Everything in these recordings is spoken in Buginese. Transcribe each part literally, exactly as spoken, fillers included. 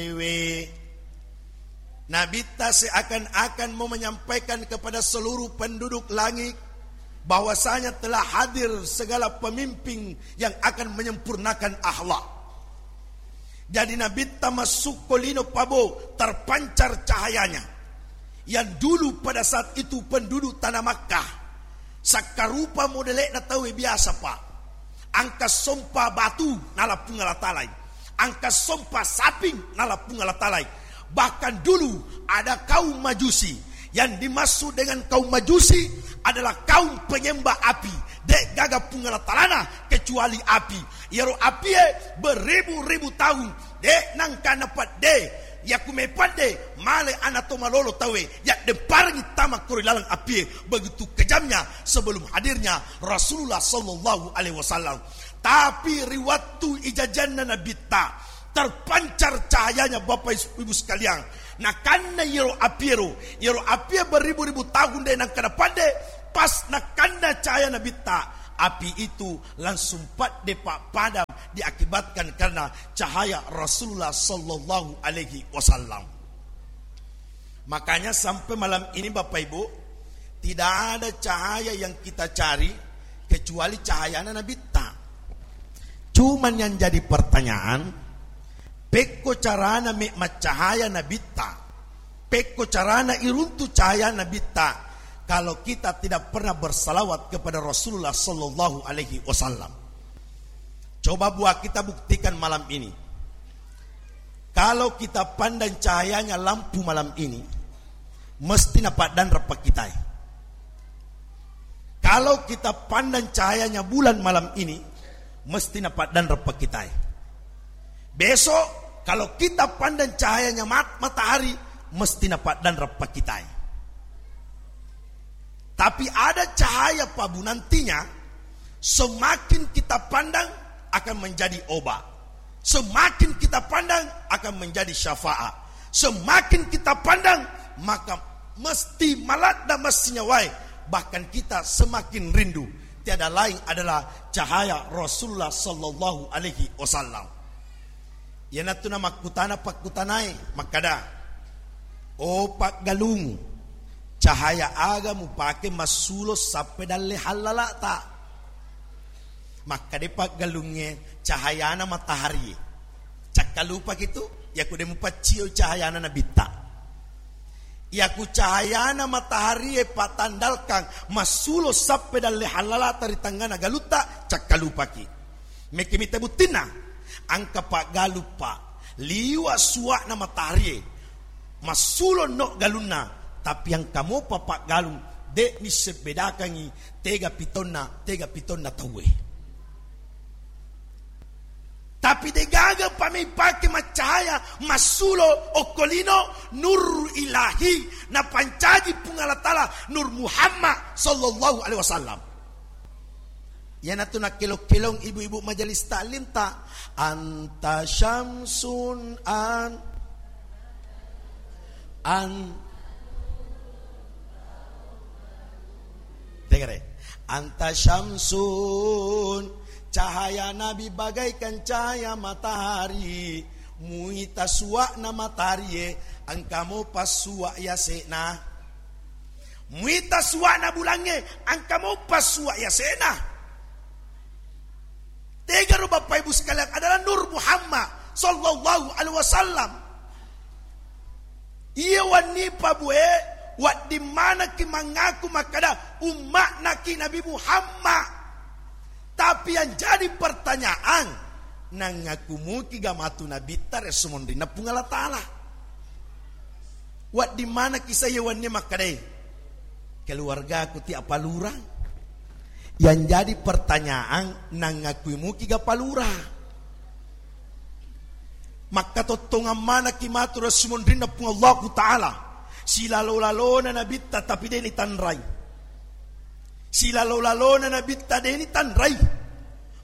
Ewe, Nabitta seakan-akan mau menyampaikan kepada seluruh penduduk langit bahwasanya telah hadir segala pemimpin yang akan menyempurnakan akhlak. Jadi Nabitta massukko lino pabo terpancar cahayanya yang dulu pada saat itu penduduk tanah Makkah sakkarupa modele'na tauwe biasa, Pak. Angka sompa batu nala Puang Allah Ta'ala, angka sompa saping nala Puang Allah Ta'ala. Bahkan dulu ada kaum Majusi. Yang dimaksud dengan kaum Majusi adalah kaum penyembah api. De' gaga Puang Allah Ta'alana kecuali api. Iyaro apie beribu-ribu tahun de' nangka napadde. Yaku mepadde male ana to malolo tauwe, yaddempareng tama kori laleng apie. Begitu kejamnya sebelum hadirnya Rasulullah sallallahu alaihi wasallam. Tapi ri wattu ijajanna Nabitta, terpancar cahayanya, Bapak Ibu sekalian. Nakanna iyaro apiero, iyaro apie beribu-ribu tahun de' nangka napadde, pas nakanna cahaya Nabitta, api itu langsung padde, Pak, padam, diakibatkan karena cahaya Rasulullah sallallahu alaihi wasallam. Makanya sampai malam ini, Bapak Ibu, tidak ada cahaya yang kita cari kecuali cahayana Nabitta. Cuman yang jadi pertanyaan, pekko carana me' maccahaya Nabitta, pekko carana iruntu cahaya Nabitta, kalau kita tidak pernah bersalawat kepada Rasulullah sallallahu alaihi wasallam. Coba buat kita buktikan malam ini. Kalau kita pandang cahayanya lampu malam ini, mesti napaddanreng pakkitai. Kalau kita pandang cahayanya bulan malam ini, mesti napaddanreng pakkitai. Besok, kalau kita pandang cahayanya mat-, matahari, mesti napaddanreng pakkitai. Tapi ada cahaya, Pak Bu, nantinya semakin kita pandang akan menjadi obat. Semakin kita pandang akan menjadi syafaat. Semakin kita pandang, maka mesti maladda massinyawae. Bahkan kita semakin rindu. Tiada lain adalah cahaya Rasulullah sallallahu alaihi wasallam. Iyanatu namakkutana pakkutanae makkada, "O paggalung, cahaya aga mupake massulo sappe dalle hallala'ta?" Makkade paggalungnge, "Cahayana mataharie." Cakkalupaki tu, yaku de mupaccio cahayana Nabitta. Yaku cahayana mataharie patandalkang massulo sappe dalle hallala'ta ri tangngana galutta, cakkalupaki. Mekki mita buttinna, angka paggalung, Pak, liwa suwa'na mataharie, massulo no galunna, tapi angka mopa paggalung, de nisseng bedakangi tega pitonna, tega pitonna tauwe. Tapi degaga pamei pake maccahaya, massulo okko lino, nur ilahi, napancaji Puang Allah Ta'ala, Nur Muhammad sallallahu alaihi wasallam. Iyanatu nakkelong-kelong ibu-ibu majelis taklim ta, "Anta syamsun an-, an-," Tegare. "Anta syamsun," cahaya Nabi bagaikan cahaya matahari. Muita suwa'na mataharie, engka mopa suwa' yase'na. Muita suwa'na bulangnge, engka mopa suwa' yase'na. Tegaro Bapak Ibu sekalian adalah Nur Muhammad sallallahu alaihi wasallam. Iya wenni pabue, wedding manekki mangaku makkada umma'naki Nabi Muhammad. Tapi yang jadi pertanyaan, nangaku muki ga matu nabitta ri esso monrinna Puang Allah Ta'ala? Wedding manekki sa iya wenni makkadai, keluargaku ti apa lurang? Yang jadi pertanyaan, nangakui muki ga palura? Makkatottongang manekki matu ri esso monrinna Puang Allahu Ta'ala. Silalo-lalona nabitta tapi de nitanrai. Silalo-lalona nabitta de nitanrai.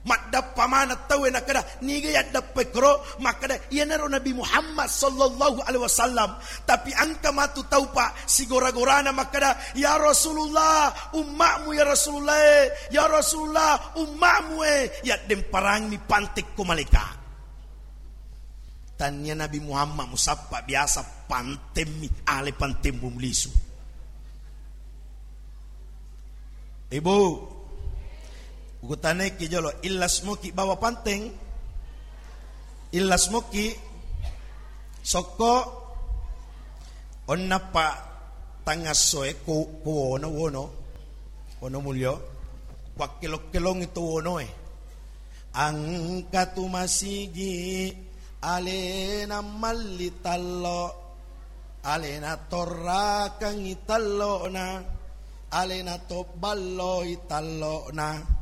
Maddappa maneng tauwe nakkeda, "Niga yaddappai koro?" Makkeda, "Iyanaro Nabi Muhammad sallallahu alaihi wasallam." Tapi engka matu tau, Pak, sigora-gorana makkeda, "Ya Rasulullah, umma'mu ya Rasulullah e, ya Rasulullah, umma'mu e." Yaddemparangi pantekko malaika. Tania Nabi Muhammad musappa, biasa pantemmi, ale pantemmu mulisu. Ibu, ukutanaiki jolo, illas moki bawa panteng? Illas moki? Sokko, onnappa tangassoe ko, ko wono, wono, wono mulio, wakkelo-kelongi to wonoe. Angka tu masigi, alena malli tallo, alena torrakangi tallona, alena tobballoi tallona.